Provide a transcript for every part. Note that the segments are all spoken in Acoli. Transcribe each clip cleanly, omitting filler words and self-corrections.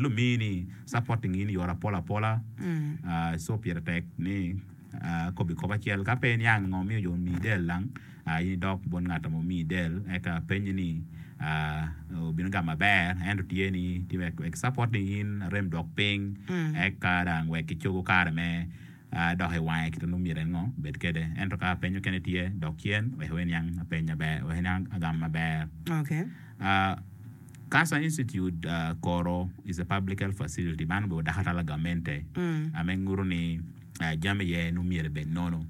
lumini supporting in i yore apola apola so pire tek ni akobi kop acel ka pe iniang ngo miyo jo omiyi del lang in idok bot ngat ma omiyi del eka apenyi ni obino gamo maber ento tye ni tye wek supporting in arem dok piny eka dang wek kicogo kare me dok i wange kit ma nongo myero en ngo obed kwede ento ka apeny mukene tye dok cen wek iniang apeny maber wek iniang agam maber. Okay. Cancer Institute Koro is a public health facility man obedo dakatal gamente ame nguto ni jami iye nongo myero ebed nono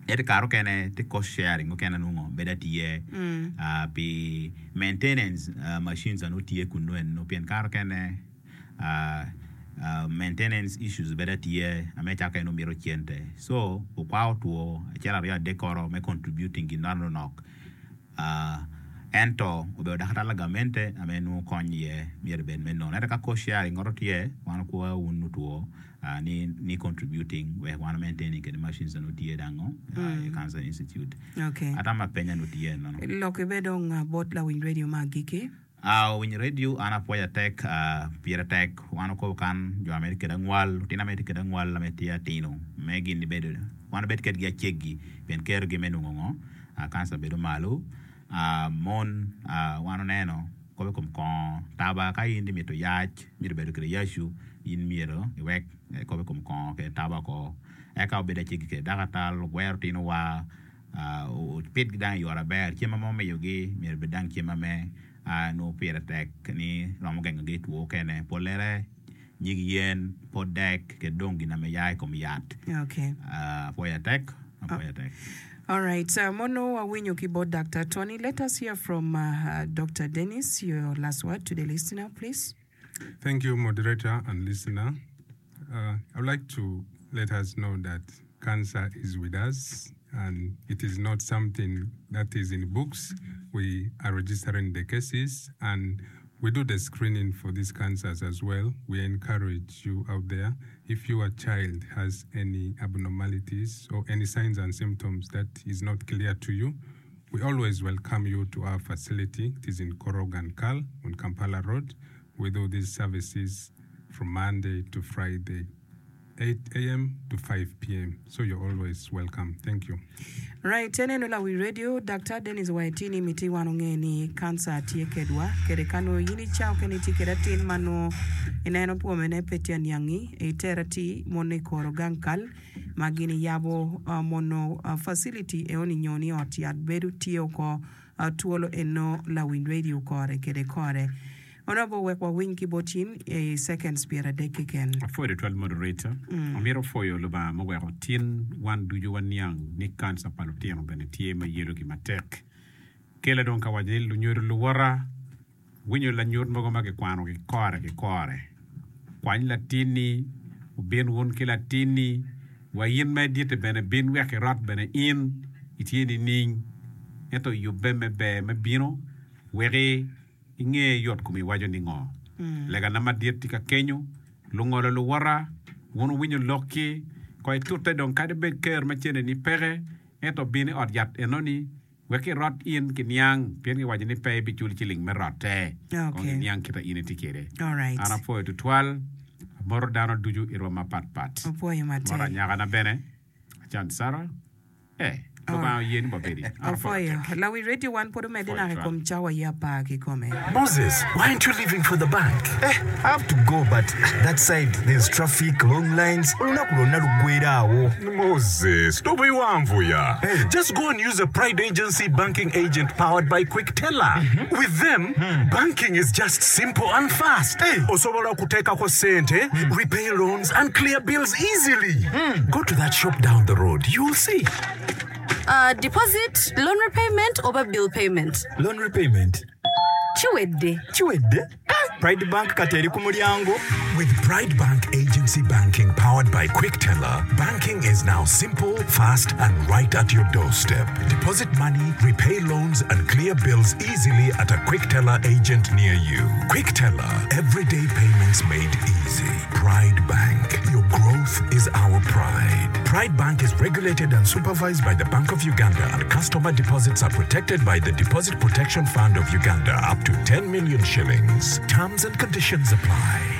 ento i kare mukene tye cost sharing mukene nongo bedo tye pi maintenance machines nongo tye kunu eno pien kare mukene maintenance issues bedo tye ame cako en nongo mito cente so okwako two acel aryo adek koro me contributing gin manok. Ento obedo dakatal lagamente ame nongo kony iye myero obed me nono. Ento ka cost sharing ngoto tye, wan okwo wun otwo ni ni contributing wek wan maintaining kede machines nongo tye dango i Cancer Institute. Okay. Atamo apenya nongo tye nono. Lok ibe dong bot lawiny radio me agikki. Awiny radio an apwoyo atek pire tek wan okobo kan jo ame tye kede angwal lutino ame tye kede angwal ame tye atino me gin bedo wan obed kedgi aceggi pien kerogi me nongo ngo kanca bedo malo mon wan oneno kobo i kom kongo taba ka in imito yac mito bedo kede yacu in myero iwek kobo i kom kongo kede taba oko eka obed aceggi kede dakatal ogwero tino wa Opitgi dang i yo maber. Cem ma omiyogi myero obed dang cem ma nongo pire tek ni romo gengogi i two okene. Pollere nyig yen, pot dek ki dong gin ma ya i kom yat. Apwoyo atek, apwoyo atek. Alright, mono wawinyo ki bot Doctor Tony. Let us hear from Doctor Dennis, your last word to the listener please. Thank you moderator and listener. Uh, I would like to let us know that cancer is with us and it is not something that is in books. We are registering the cases and we do the screening for these cancers as well. We encourage you out there, if your child has any abnormalities or any signs and symptoms that is not clear to you, we always welcome you to our facility. It is in Korogan Kal on Kampala Road. We do these services from Monday to Friday, 8 a.m. to 5 p.m. So you're always welcome. Thank you. Right, en eno lawi radio, Daktar Dennis Waitini miti wan onge ni kanca tye kedwa kede ka nongo in ica okene itye kede atin ma nongo ineno pwome ne pe tye aniangi itera ti mono ikoro gang kal ma gin iyabo mono facility eoni nyo ni ot yat bedo tye oko twolo eno lawiny radio kore kede kore. Honourable wek wawiny ki bot in i seconds pyeradek keken. Apwoyo tutwal moderator. Amito pwoyo Lubanga muweko tin wan ducu waniang ni kanca pa lutino bene tye ma yelogi matek. Kela dong ka waco ni lunyodo luwota winyo lanyut mogo ma kikwano ki kore ki kore. Kwany latinni, wubin wun ki latinni, wa in ma iditte bene bin wek irot bene in itye nining. Ento yubbe me ber me bino weki Inge yot komi iwaco ni ngo? Legana madit tye ka kenyo, lungolo luwota, wun wuwinyo lokki, kong itute dong kadi bed ker ma cene ni peke, ento bin i ot yat enoni wek irot in ki niang, pien giwaco ni pe ibiculo ciling me rotte. Kong iniang kita in itye kwede. An apwoyo tutwal, amoto dano ducu i rwom mapat pat. Amoto anyakana bene, Acan Sarah. Ee, Lubanga oye ni wabedi. An apwoyo Apwoyo. atek. Lawi radio wan pud omedde Apwoyo naka i twal. kom cawa aye apar kikome. Moses, why aren't you leaving for the bank? Eh, I have to go but that side there's traffic, long lines, olunaku lwonna luggwera awo. Moses, tobiwanvuya. Hey. Just go and use a Pride Agency banking agent powered by Quickteller. With them, banking is just simple and fast. Osobola okuteekako sente, repay loans and clear bills easily. Go to that shop down the road, you'll see. Uh, deposit, loan repayment oba bill payment? Loan repayment. Kiwedde. Kiwedde? Pride Bank kati eri ku mulyango. With Pride Bank Agency Banking powered by Quickteller, banking is now simple, fast, and right at your doorstep. Deposit money, repay loans, and clear bills easily at a Quickteller agent near you. Quickteller, everyday payments made easy. Pride Bank, your growth is our pride. Pride Bank is regulated and supervised by the Bank of Uganda, and customer deposits are protected by the Deposit Protection Fund of Uganda up to 10 million shillings. Terms and conditions apply.